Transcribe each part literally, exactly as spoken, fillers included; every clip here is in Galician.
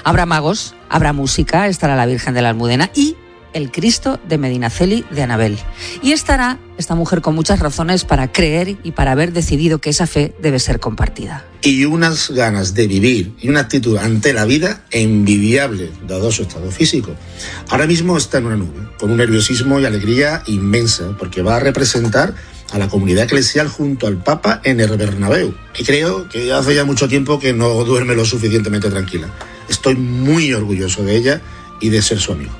Habrá magos, habrá música, estará la Virgen de la Almudena y el Cristo de Medinaceli de Anabel. Y estará esta mujer con muchas razones para creer y para haber decidido que esa fe debe ser compartida. Y unas ganas de vivir y una actitud ante la vida envidiable, dado su estado físico. Ahora mismo está en una nube, con un nerviosismo y alegría inmensa, porque va a representar a la comunidad eclesial junto al Papa en el Bernabéu. Y creo que hace ya mucho tiempo que no duerme lo suficientemente tranquila. Estoy muy orgulloso de ella y de ser su amigo.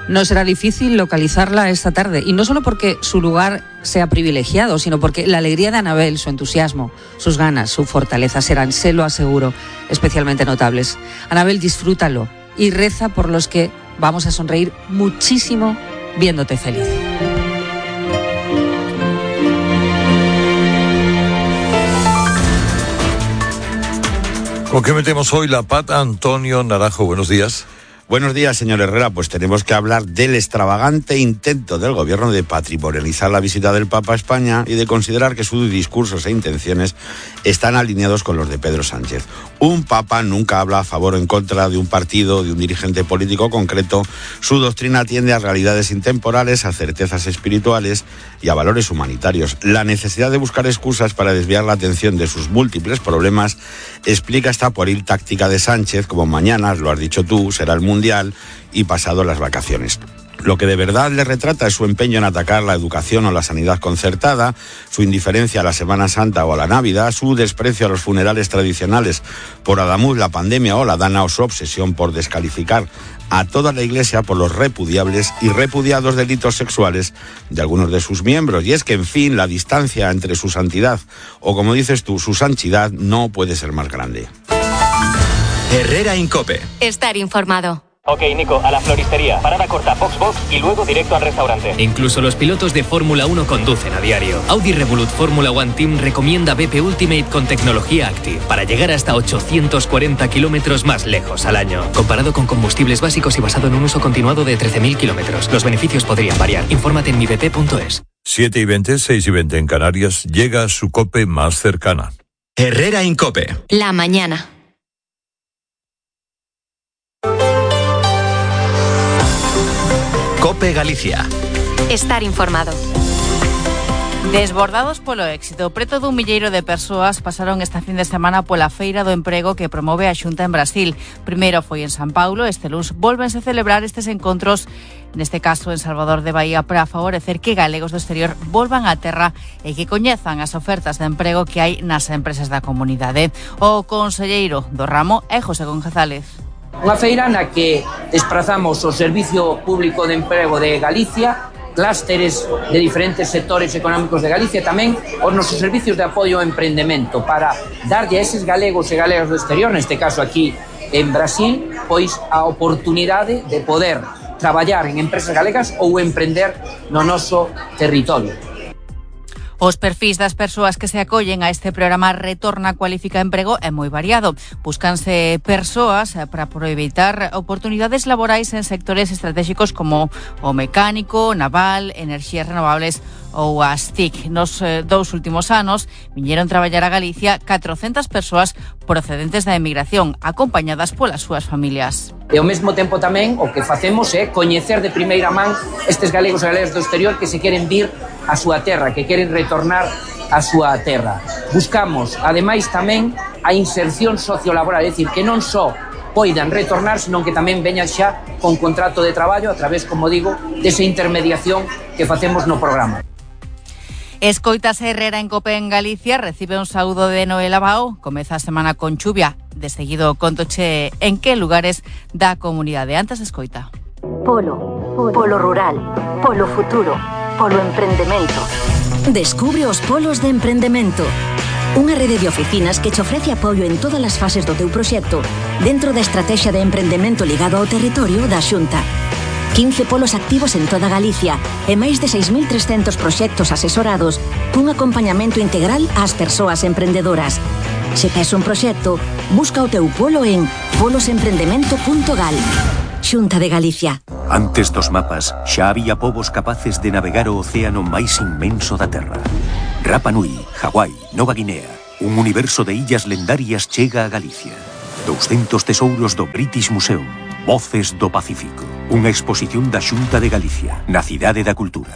No será difícil localizarla esta tarde, y no solo porque su lugar sea privilegiado, sino porque la alegría de Anabel, su entusiasmo, sus ganas, su fortaleza serán, se lo aseguro, especialmente notables. Anabel, disfrútalo y reza por los que vamos a sonreír muchísimo viéndote feliz. ¿Con qué metemos hoy la pata? Antonio Naranjo, buenos días. Buenos días, señor Herrera. Pues tenemos que hablar del extravagante intento del gobierno de patrimonializar la visita del Papa a España y de considerar que sus discursos e intenciones están alineados con los de Pedro Sánchez. Un Papa nunca habla a favor o en contra de un partido, de un dirigente político concreto. Su doctrina tiende a realidades intemporales, a certezas espirituales y a valores humanitarios. La necesidad de buscar excusas para desviar la atención de sus múltiples problemas explica esta pueril táctica de Sánchez, como mañana, lo has dicho tú, será el Mundial y pasado las vacaciones. Lo que de verdad le retrata es su empeño en atacar la educación o la sanidad concertada, su indiferencia a la Semana Santa o a la Navidad, su desprecio a los funerales tradicionales por Adamuz, la pandemia o la Dana, o su obsesión por descalificar a toda la Iglesia por los repudiables y repudiados delitos sexuales de algunos de sus miembros. Y es que, en fin, la distancia entre su santidad o, como dices tú, su sanchidad no puede ser más grande. Herrera en COPE. Estar informado. Ok, Nico, a la floristería, parada corta, box box y luego directo al restaurante. Incluso los pilotos de Fórmula uno conducen a diario. Audi Revolut Fórmula One Team recomienda B P Ultimate con tecnología Active para llegar hasta ochocientos cuarenta kilómetros más lejos al año. Comparado con combustibles básicos y basado en un uso continuado de trece mil kilómetros. Los beneficios podrían variar. Infórmate en mi b p punto es. siete y veinte, seis y veinte en Canarias, llega su COPE más cercana. Herrera en COPE. La mañana. COPE Galicia. Estar informado. Desbordados polo éxito, preto dun milleiro de persoas pasaron esta fin de semana pola Feira do Emprego que promove a Xunta en Brasil. Primeiro foi en San Paulo, este luns volvense a celebrar estes encontros, neste caso en Salvador de Bahía, para favorecer que galegos do exterior volvan á terra e que coñezan as ofertas de emprego que hai nas empresas da comunidade. O conselleiro do ramo é José González. Unha feira na que desprazamos o Servicio Público de Emprego de Galicia, clústeres de diferentes sectores económicos de Galicia, tamén os nosos servicios de apoio ao emprendemento para darlle a eses galegos e galegas do exterior, neste caso aquí en Brasil, pois a oportunidade de poder traballar en empresas galegas ou emprender no noso territorio. Os perfis das persoas que se acollen a este programa Retorna Cualifica Emprego é moi variado. Búscanse persoas para aproveitar oportunidades laborais en sectores estratégicos como o mecánico, naval, enerxías renovables ou as T I C. Nos eh, dous últimos anos viñeron traballar a Galicia catrocentas persoas procedentes da emigración, acompañadas polas súas familias. E ao mesmo tempo tamén o que facemos é coñecer de primeira man estes galegos e galegas do exterior que se queren vir a súa terra, que queren retornar a súa terra. Buscamos, ademais, tamén a inserción sociolaboral, é dicir, que non só poidan retornar, senón que tamén veñan xa con contrato de traballo a través, como digo, desa intermediación que facemos no programa. Escoitas Herrera en COPE en Galicia, recibe un saúdo de Noel Abao, comeza a semana con chuvia, de seguido contoche en que lugares da comunidade. Antes escoita. Polo, polo rural, polo futuro, polo emprendemento. Descubre os polos de emprendemento. Unha rede de oficinas que te ofrece apoio en todas as fases do teu proxecto dentro da estrategia de emprendemento ligado ao territorio da Xunta. quince polos activos en toda Galicia e máis de seis mil trescentos proxectos asesorados cun acompañamento integral ás persoas emprendedoras. Se tes un proxecto, busca o teu polo en polos emprendemento punto gal. Xunta de Galicia. Antes dos mapas, xa había povos capaces de navegar o océano máis inmenso da Terra. Rapa Nui, Hawái, Nova Guinea, un universo de illas lendarias chega a Galicia. doscientos tesouros do British Museum. Voces do Pacífico. Unha exposición da Xunta de Galicia, na Cidade da Cultura.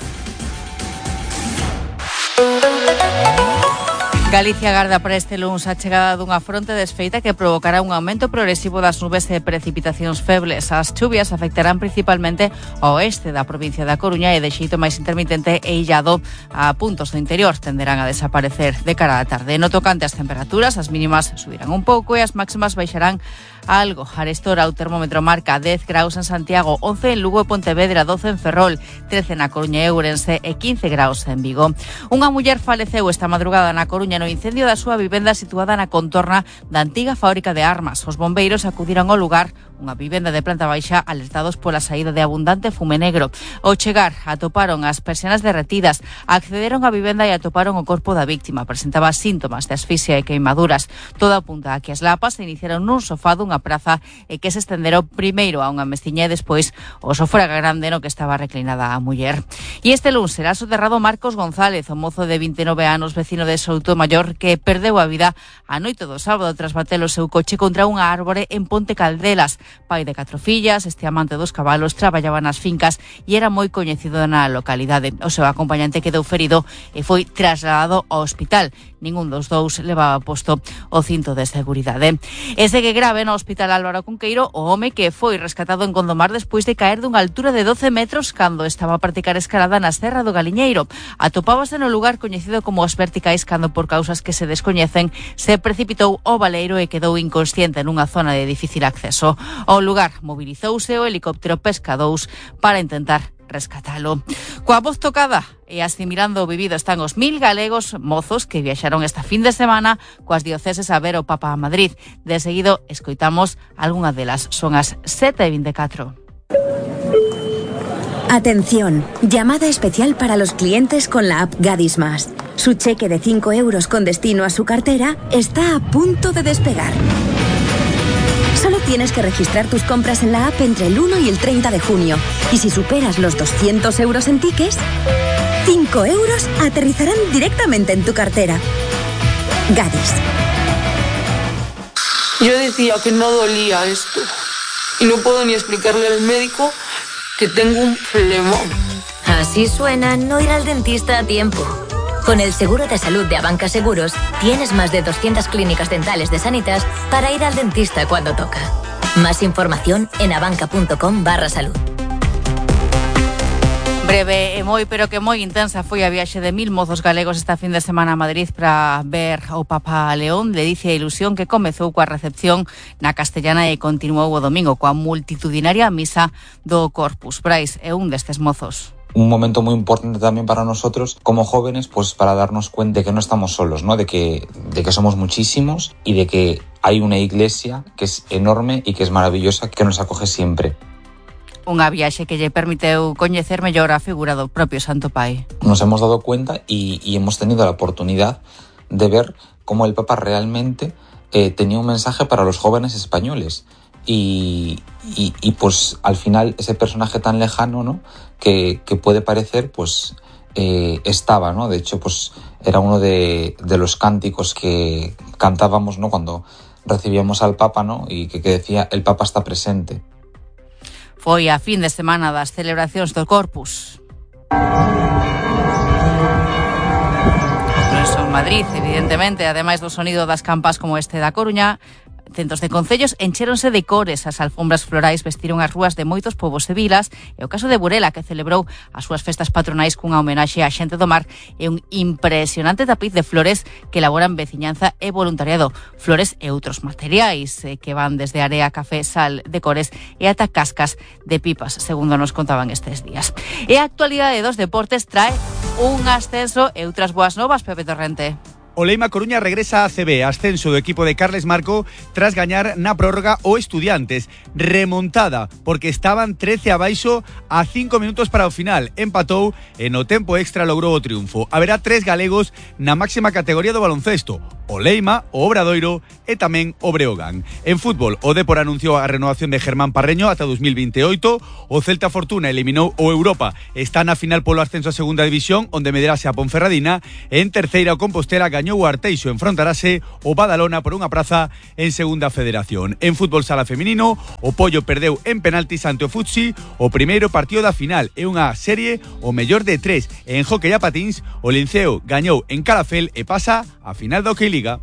Galicia agarda para este luns a chegada dunha fronte desfeita que provocará un aumento progresivo das nubes e precipitacións febles. As chuvias afectarán principalmente ao oeste da provincia da Coruña e de xeito máis intermitente e illado a puntos do interior. Tenderán a desaparecer de cara á tarde. No tocante ás temperaturas, as mínimas subirán un pouco e as máximas baixarán algo. Arestora o termómetro marca dez graus en Santiago, once en Lugo e Pontevedra, doce en Ferrol, trece na Coruña e Ourense e quince graus en Vigo. Unha muller faleceu esta madrugada na Coruña no incendio da súa vivenda situada na contorna da antiga fábrica de armas. Os bombeiros acudiron ao lugar, unha vivenda de planta baixa, alertados pola saída de abundante fume negro. Ao chegar, atoparon as persianas derretidas, accederon á vivenda e atoparon o corpo da víctima. Presentaba síntomas de asfixia e queimaduras. Todo apunta a que as lapas se iniciaron nun sofá dunha praza e que se estenderon primeiro a unha mestiña e despois o sofá grande no que estaba reclinada a muller. E este luns será soterrado Marcos González, o mozo de vinte e nove anos, vecino de Soutomaior, que perdeu a vida a noite do sábado tras bater o seu coche contra unha árbore en Ponte Caldelas. Pai de catro fillas, este amante dos cabalos, traballaba nas fincas e era moi coñecido na localidade. O seu acompañante quedou ferido e foi trasladado ao hospital. Ningún dos dous levaba posto o cinto de seguridade. E segue grave no Hospital Álvaro Cunqueiro o home que foi rescatado en Gondomar despois de caer dunha altura de doce metros cando estaba a practicar escalada na Serra do Galiñeiro. Atopábase no lugar coñecido como os Verticais cando, por causas que se descoñecen, se precipitou ao baleiro e quedou inconsciente nunha zona de difícil acceso. Ao lugar mobilizouse o helicóptero Pesca dous para intentar rescatalo. Coa voz tocada e asimilando o vivido están os mil galegos mozos que viaxaron esta fin de semana coas dioceses a ver o Papa a Madrid. De seguido, escoitamos algunha delas. Son as sete e vinte e catro. Atención, llamada especial para los clientes con la app Gadis Más. Su cheque de cinco euros con destino a su cartera está a punto de despegar. Solo tienes que registrar tus compras en la app entre el uno y el treinta de junio. Y si superas los doscientos euros en tickets, cinco euros aterrizarán directamente en tu cartera. Gadis. Yo decía que no dolía esto. Y no puedo ni explicarle al médico que tengo un flemón. Así suena no ir al dentista a tiempo. Con el seguro de salud de Abanca Seguros, tienes más de doscientas clínicas dentales de Sanitas para ir al dentista cuando toca. Más información en abanca.com barra salud. Breve e moi, pero que moi intensa foi a viaxe de mil mozos galegos esta fin de semana a Madrid para ver o Papa León. Ledicia e ilusión que comezou coa recepción na Castellana e continuou o domingo coa multitudinaria misa do Corpus. Brais é un destes mozos. Un momento muy importante también para nosotros como jóvenes, pues para darnos cuenta de que no estamos solos, ¿no? De que, de que somos muchísimos y de que hay una iglesia que es enorme y que es maravillosa, que nos acoge siempre. Unha viaxe que lle permiteu coñecer mellor a figura do propio Santo Pai. Nos hemos dado cuenta y, y hemos tenido la oportunidad de ver cómo el Papa realmente eh, tenía un mensaje para los jóvenes españoles. Y, y, y pues al final ese personaje tan lejano, ¿no? que, que puede parecer, pues eh, estaba, ¿no? De hecho, pues era uno de, de los cánticos que cantábamos, ¿no? Cuando recibíamos al Papa, ¿no? Y que, que decía, el Papa está presente. Foi a fin de semana das celebracións do Corpus. En Madrid, evidentemente, ademais do sonido das campas como este da Coruña, centos de concellos enchéronse de cores, as alfombras florais vestiron as rúas de moitos povos e vilas, e o caso de Burela, que celebrou as súas festas patronais cunha homenaxe á xente do mar e un impresionante tapiz de flores que elaboran veciñanza e voluntariado, flores e outros materiais eh, que van desde area, café, sal de cores e ata cascas de pipas, segundo nos contaban estes días. E a actualidade dos deportes trae un ascenso e outras boas novas, Pepe Torrente. O Leima Coruña regresa a C B, ascenso do equipo de Carles Marco tras gañar na prórroga o Estudiantes. Remontada, porque estaban trece abaixo a cinco minutos para o final. Empatou e no tempo extra logrou o triunfo. Haberá tres galegos na máxima categoría do baloncesto. o Leima, o Obradoiro e tamén o Breogán. En fútbol, o Depor anunciou a renovación de Germán Parreño ata dos mil veintioito, o Celta Fortuna eliminou o Europa, está na final polo ascenso a segunda división, onde medirase a Ponferradina, e en terceira o Compostela gañou o Arteixo, enfrontarase o Badalona por unha praza en segunda federación. En fútbol sala feminino, o Pollo perdeu en penaltis ante o Futsi o primeiro partido da final, é unha serie o mellor de tres. En hóquei a patins, o Linceo gañou en Calafel e pasa a final da Hockey Liga.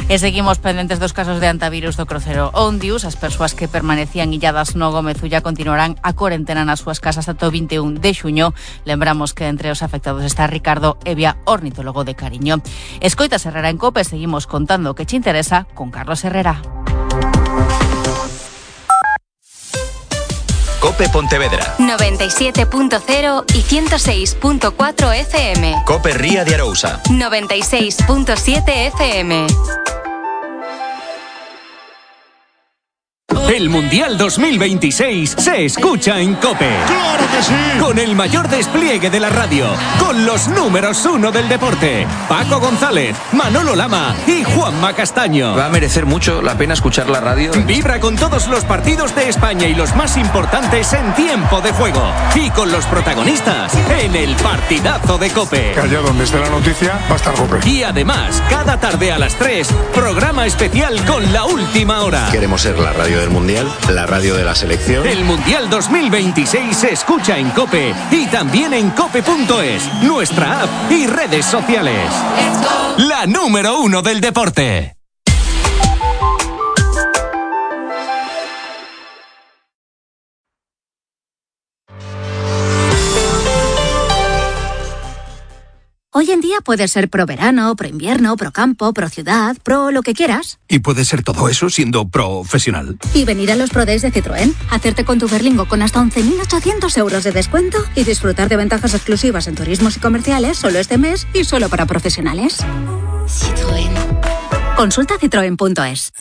E seguimos pendentes dos casos de antivirus do crucero Ondius. As persoas que permanecían illadas no Gomezulla continuarán a corentena nas súas casas ata o vinte e un de xuño. Lembramos que entre os afectados está Ricardo Evia, ornitólogo de Cariño. Escoitas Herrera en COPE, seguimos contando o que che interesa con Carlos Herrera. COPE Pontevedra noventa y siete punto cero y ciento seis punto cuatro F M. COPE Ría de Arousa noventa y seis punto siete F M. El Mundial dos mil veintiséis se escucha en COPE. ¡Claro que sí! Con el mayor despliegue de la radio, con los números uno del deporte, Paco González, Manolo Lama y Juanma Castaño. Va a merecer mucho la pena escuchar la radio. Vibra con todos los partidos de España y los más importantes en tiempo de juego. Y con los protagonistas en el partidazo de COPE. Allá donde esté la noticia va a estar COPE. Y además, cada tarde a las tres, programa especial con la última hora. Queremos ser la radio del Mundial, la radio de la selección. El Mundial dos mil veintiséis se escucha en COPE y también en cope punto es, nuestra app y redes sociales. La número uno del deporte. Hoy en día puedes ser pro verano, pro invierno, pro campo, pro ciudad, pro lo que quieras. Y puedes ser todo eso siendo profesional. Y venir a los Pro Days de Citroën, hacerte con tu Berlingo con hasta once mil ochocientos euros de descuento y disfrutar de ventajas exclusivas en turismos y comerciales solo este mes y solo para profesionales. Citroën. Consulta citroen punto es.